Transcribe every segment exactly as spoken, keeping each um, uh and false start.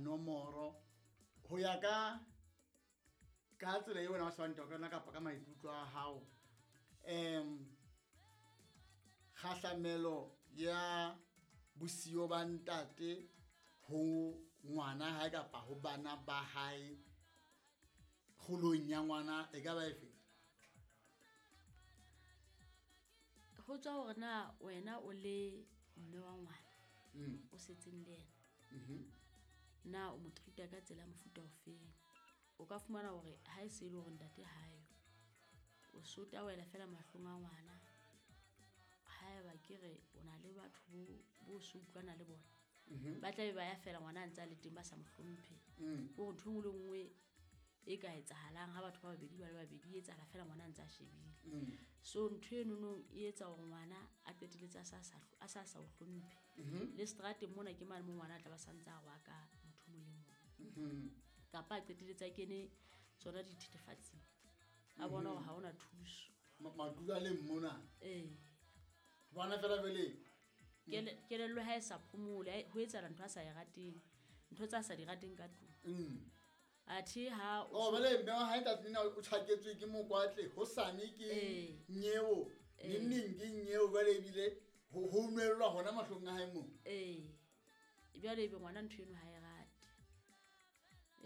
nomoro ho ya ka ka tsela eo wena o shebang taba ka yona kapa ka maikutlo a hao um kgahlamelo ya bosiyo ba ntate ho ngwana hae kapa ho bana ba hae kgolong ya ngwana e ka ba efe? Ho tswa hore na wena o le mme wa ngwana Mm. o setseng le yena Mhm. na o mo treat-a ka tsela ya mofuta ofeng. O ka fumana hore ha e se e le hore ntate hayo o sota wela fela mahlong a ngwana. Haeba ke re o na le batho bo bo so utlwana le bona Mhm. ba tla be ba ya fela ngwana a ntse a le teng ba sa mo hlomphe. Mm. Ke hore ntho e nngwe le nngwe e ka etsahalang ha batho ba babedi ba le babedi e etsahala fela ngwana a ntse a shebile. Mm. So ntho enono e etsa hore ngwana a qetelletse a sa sa a sa sa o hlomphe. Mhm. Le seterateng mona ke mane mo ngwana a tla ba santse a rwaka motho o mong le mong. Mhm. Kapa a qetelletse a kene tsona dithethefatsing. A bona hore ha hona thuso. Ma- madulo a leng mona. Ee. Bona fela jwale. Kele- kelello ha e sa phomole, ha e-, ho etsahala ntho a sa e rateng. Ntho tsa sa di rateng ka tlung. Mm. Athe ha o Oh, so- jwale mme wa hae ntate lena o tjhaketswe ke mokwatle, hosane ke Ee. nyeo, Ee. neng neng ke nyeo, jwale ebile ho, ho nwellwa hona mahlong a hae moo. Ee. Jwale ebe ngwana ntho eno ha e rate.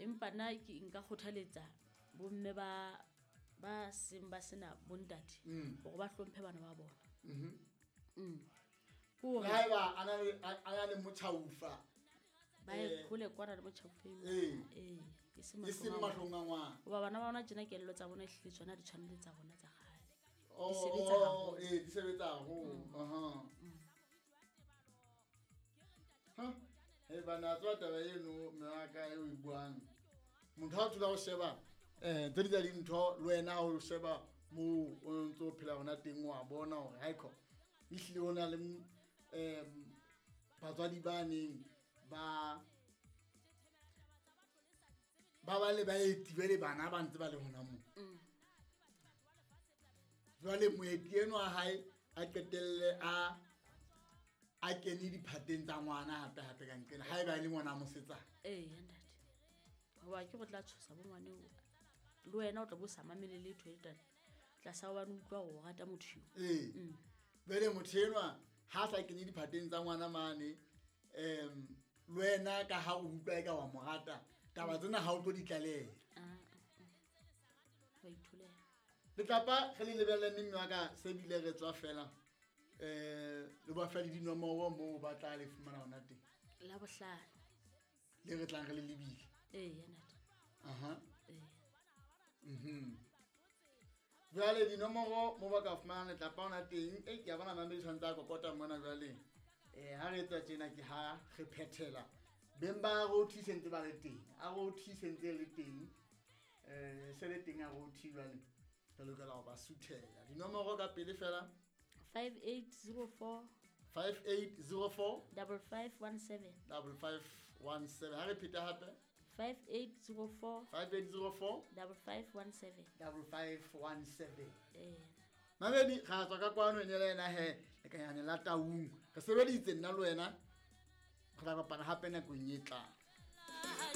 Empa nna ke nka kgothaletsa bomme ba, ba seng ba sena bontate Mm. hore ba hlomphe bana ba bona. Mhm. Mm. Ke hore Le haeba a na le, a, a na le motjhaufa, ba ye eh, hole kwana le motjhaufa eno. Ee. Ee, e seng E seng mahlong a mahlong a ngwana. Hoba bana ba bona tjena kelello tsa bona ehlile tsona di tshwane le tsa rona tsa kgale. Oh, Di sebetsa oh, haholo. ee, di sebetsa haholo. Mm. Aha. Mm. Ha, hei bana, tseba taba eno mme wa ka eo e buang. Motho ha o tsula o sheba, eh, tse ding tsa dintho le wena ha o sheba moo o ntso phela hona teng wa bona hore haekho ehlile ho na le, em, batswadi ba neng ba, ba ba le baeti jwale bana ba ntse ba le hona moo. Mm. Jwale moeti enwa wa hae a qetelle a, a kene diphateng tsa ngwana hape hape ka nqena, haeba e le ngwana wa mosetsana. Ee, ntate. Hoba ke go tla tshosa bo ngwane oo. Le wena o tla bo sa mamele letho e tla tlasa hobane o utlwa hore o rata motho eo. Ee. Mm. Jwale motho enwa ha sa kene diphateng tsa ngwana mane, em, le wena ka ha o utlwa eka wa mo rata, taba tsena ha o tlo di tlaleha. Ah, ah, ah. Wa itholela. Letlapa re le lebelle mme wa ka se bile re tswa fela. Eh, le ba fa le dinomoro moo ba tla le fumana hona teng. La bohlano. Le re tlang re le lebile. Ee, ntate. Aha. Ee. Mhm. Jwale dinomoro mo ba ka fumana letlapa hona teng, e ke a bona mamedi tshwantse a kokota mona jwale. Eh, ha re etsa tjena ke ha re phethela. Beng ba R O T se ntse ba le teng. R O T se ntse le teng. Eh, se le teng R O T jwale. Re lokela ho ba suthela. Dinomoro ka pele fela. five eight zero four. five eight zero four. Double five one seven. Double five one seven. Ha re pheta hape. five eight zero four. five eight zero four. Double five one seven. Double five one seven. Ee. Mamedi, ra tswa ka kwano ene le ena he, lekanyane la Taung. Re sebeditse nna le wena. Re tla kopana hape nakong e tlang.